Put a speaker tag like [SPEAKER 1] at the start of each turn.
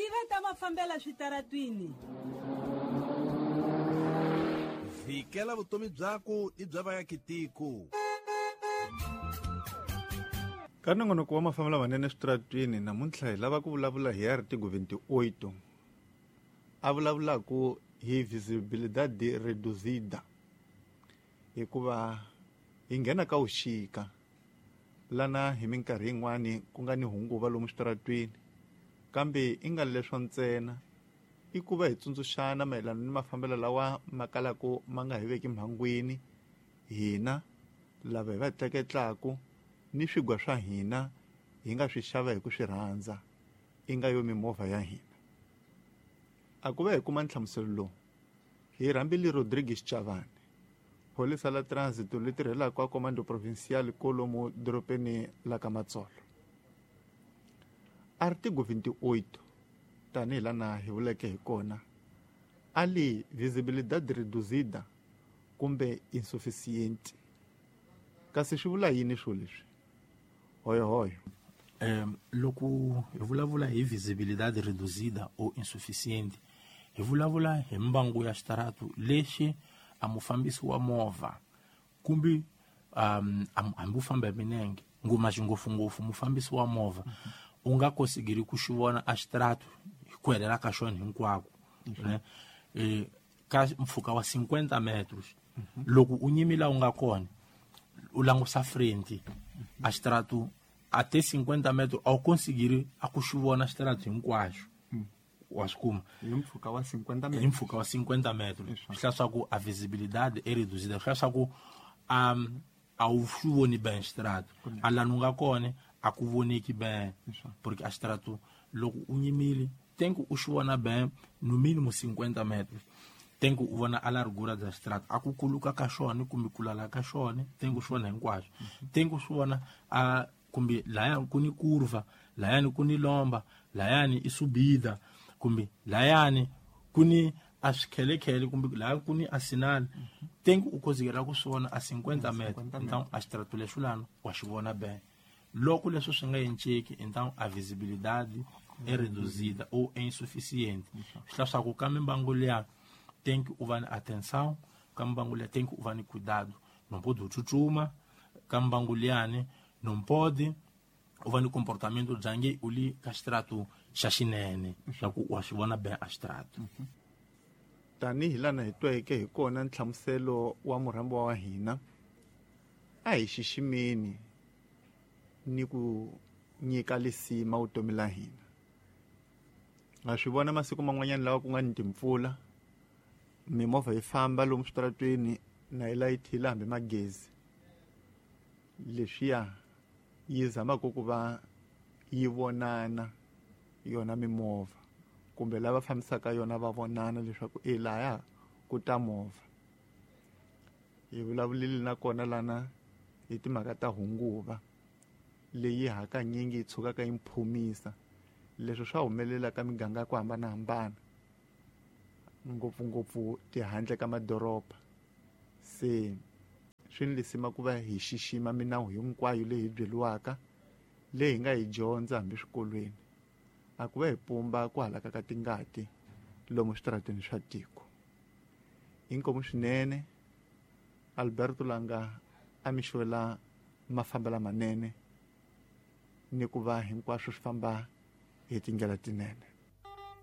[SPEAKER 1] Tiva ta mafambela switaratwini.
[SPEAKER 2] Vhikela vutomi byaku ni bya vaakitiko.
[SPEAKER 3] Ka nongonoko wa mafambelo lamanene eswitaratwini namuntlha hi lava ku vulavula hi artigo 28 a vulavulaku hi visibilidade reduzida hikuva hi nghena ka vuxika lana hi minkarhi yin'wani ku nga ni hunguva lomu switaratwini kambe i nga leswo ntsena i ku va hi tsundzuxana mayelana ni mafambelo lawa ma kalaku ma nga hi veki mhangwini hina lava hi va tleketlaku ni swigwa swa hina hi nga swi xava hi ku swi rhandza i nga yo mimovha ya hina. A ku va hi kuma nhlamuselo lowu hi rhambile Rodrigues Chavani, pholisa la trânsito li tirhelaka a Comando Provincial kolomu doropeni la ka Matsolo. Artigo 28 tanihi lana hi vuleke hi kona a li visibilidade reduzida kumbe insuficiente. Kasi swi vula yini swo leswi? Hoyohoyo.
[SPEAKER 4] Loko hi vulavula hi visibilidade reduzida ou insuficiente, hi vulavula hi mbangu ya xitaratu lexi a mufambisi wa movha kumbe hambi u famba hi minenge ngoma xingopfungopfu mufambisi wa movha u nga kosigiri ku xi vona a xitaratu hi ku helela ka xona hinkwako ne ka mpfhuka wa 50 metros. Loko u nyimi la u nga kona u langusa frente a xitaratu a te 50 metros a wu konsigiri a ku xi vona xitaratu hinkwaxo. Wa swi kuma
[SPEAKER 3] hi mpfhuka wa 50 metros.
[SPEAKER 4] Hi mpfhuka wa 50 metros. Swi hlaya swa ku a visibilidade e reduzida, swi hlaya swa ku a wu swi voni ben xitaratu a lani u nga kona a ku voneki ben, porque a xitaratu loko u nyimile tenku u xi vona ben no mínimo 50 metros, tenku u vona a largura bya xitaratu a ku kuluka ka xona kumbe ku lala ka xona, tenku swi vona hinkwaswo, tenku swi vona a kumbe layani ku ni kurva, layani ku ni lomba, layani i subida, kumbe layani ku ni a swikhelekhele, kumbe layani ku ni a sinali, tenku u kozikela ku swi vona a 50 metros. Então a xitaratu lexo lana wa xi vona ben. Loko leswo swi nga enceki, então a visibilidade é reduzida ou é insuficiente. Swi hlaya swa ku ka mimbangu liya tem que u va ni atenção, ka mimbangu liya tem que u va ni cuidado, não pode tsutsuma ka mimbangu liyani, não pode u va ni comportamento bya nge u li ka xitaratu xa xinene swa ku wa swi vona ben a xitaratu.
[SPEAKER 3] Tanihi lana hi tweke hi kona nhlamuselo wa murhambiwa wa hina, a hi xiximeni ni ku nyika lisima vutomi la hina. Ha swi vona masiku man'wanyana lawa ku nga ni timpfula, mimovha yi famba lomu switaratweni na yi layithile hambi magezi, leswiya yi zamaka ku va yi vonana yona mimovha kumbe lava fambisaka yona va vonana leswaku e laya ku ta movha. Hi vulavulile nakona lana hi timhaka ta hunguva leyi hakanyingi yi tshukaka yi mphumisa. Leswi swa humelela ka miganga ya ku hambanahambana, ngopfungopfu tihandle ka madoroba. Se swi ni lisima ku va hi xixima minawu hinkwayo leyi hi byeriwaka, leyi hi nga yi dyondza hambi swikolweni. A ku va hi pumba ku halaka ka tingati lomu switarateni swa tiko. Inkomu swinene Alberto Langa a mi xwela mafambelo manene ni ku va hinkwaswo swi famba hi tindlela tinene.